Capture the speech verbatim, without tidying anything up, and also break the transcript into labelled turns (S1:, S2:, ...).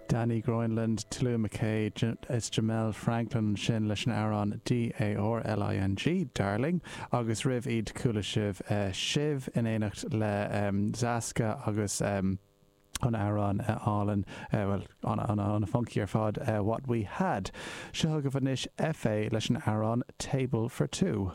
S1: Danny Groenland, Tallulah McKay is Jamel Franklin sin leis an amhrán D A R L I N G, Darling, agus roimh iad chuala sibh uh, sibh in éineacht le um, Zasca agus um, an amhrán uh, álainn uh, well, an, an, an funky ar fad, uh, What We Had. Seo chugaibh anois F A leis an amhrán Table for Two.